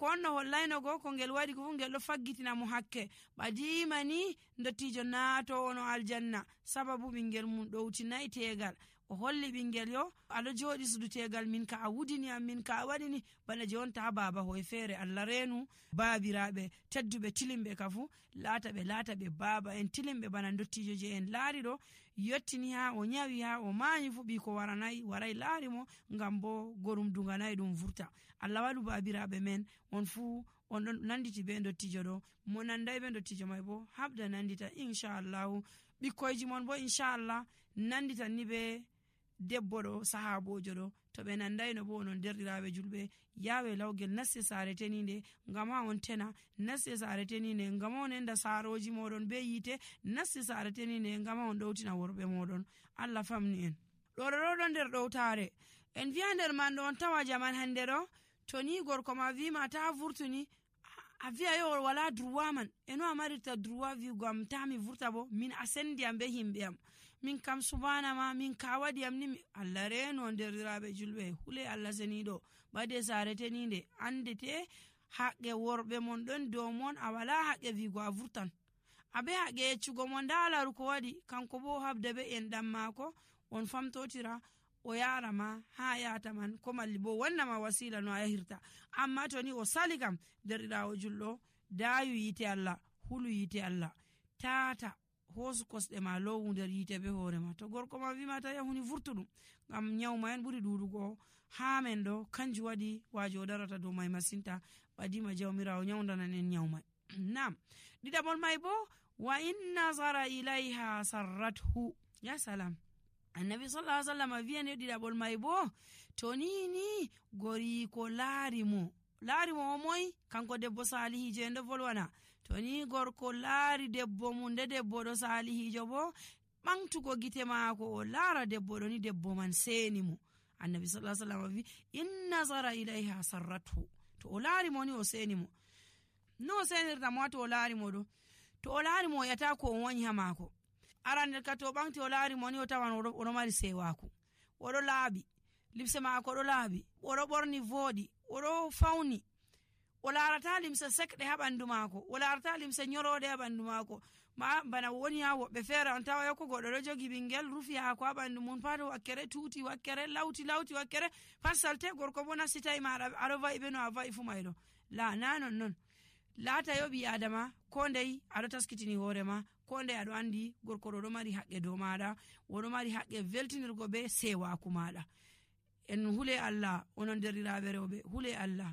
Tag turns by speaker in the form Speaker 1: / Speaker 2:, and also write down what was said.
Speaker 1: kanko on no hollaynogo ko ngel waɗi ko fu ngel ɗo faggitina mo hakke ɓadima ni dottijo naato ono aljanna sababu ɓingel mum ɗowtinayi tegal o holli ɓingel yo aɗo joɗi sudu tegal min ka a wudini am min ka a waɗini bana jonta baba hoye feere. Allah reenu baabiraɓe tedduɓe tilimɓe ka fu laata ɓe baba en tilimɓe bana dottijo je en laari ɗo yottini ha o nyawi ha o mayi fu ɓi ko waray laari mo ngam bo gorum dunganayi ɗum vurta. Allah waɗu baabiraɓe men on fu on ɗon nanditi be dottijo ɗo mo nanday be dottijo mai bo habda nandita inchallahu ɓikkoyji mon bo inchallah nanditan ni be debbo ɗo sahabojo ɗo to ɓe nandayno bo onon derɗiraɓe julɓe yawe lawgel nasse saare teninde ngam ha on tena nasse saare teninde ngam on enda saaroji moɗon be yite nasse saare teninde ngam on ɗowtina worɓe moɗon. Allah famni en ɗo ɗo nder ɗowtare en wiya nder man ɗo on tawa jaman hande ɗo to ni gorko ma wima ta vurtuni a wiya yo wala droit man eno a marirta droit wiugo am ta mi vurta bo min a sendi am be himɓe am min kam subhanama min ka waɗi am ni Allah reno nderiraɓe julɓe hule Allah seniɗo ɓade saare teninde andete haqqe worɓe mon ɗon dow mon a wala haqqe wiugo a vurtan abe haqqe yeccugo mo ndalaru ko waɗi kanko bo habda be en ɗam maako on famtotira o yara ma ha yata man ko malli bo wannama wasila no a yahirta amma to ni o sali kam derɗirawo julɗo dayu yite Allah hulu yite Allah tata hosu kosɗe ma lowu nder yite be hoorema to gorko ma wima ta yahuni vurtuɗum ngam nyawma en ɓuri ɗuɗugo ha men ɗo kanju waɗi wajo o darata dow mai masinta ɓadima jawmirawo nyawdanan en nyawmai. Nam ɗiɗaɓol mai bo wa in nazara ilayha sarrathu ya salam annabi sallallahu alaihi wasallam wiyane ɗiɗaɓol mai bo to ni gori ko laari mo o moy kanko debbo salihijo en ɗo volwana to ni gorko laari debbo mum nde debbo ɗo salihijo bo ɓamtugo gite maako o laara debbo ɗo ni debbo man seni mo annabi sallallahu alaihi wasallam wi in nazara ilayha sarrathu to o laari mo ni o seni mo no o senirta mo to o laari mo ɗo to o laari mo o yata ko o woni ha maako arande ka to ɓamti o laari mo ni o tawan oɗo mari sewaku oɗo laaɓi limse maako ɗo laaɓi oɗo ɓorni vooɗi oɗo fawni o larata limse sekɗe ha ɓandu maako o larata limse nyoroɗe ha ɓandu maako ma bana woni ha woɓɓe feere on tawa yokko goɗɗo ɗo jogi ɓingel rufi haako ha ɓandu mum pat wakkere tuuti wakkere lawti wakkere pat salte gorko bo nasitayi maɗa aɗo va'i ɓe no a va'i fu mayɗo la na non laata yo ɓi adama ko ndey aɗo taskitini hoorema ko ndey aɗo andi gorko ɗo mari haqqe dow maɗa oɗo mari haqqe weltinirgo be sewaku maɗa en hule Allah onon derɗiraɓe rewɓe hule Allah.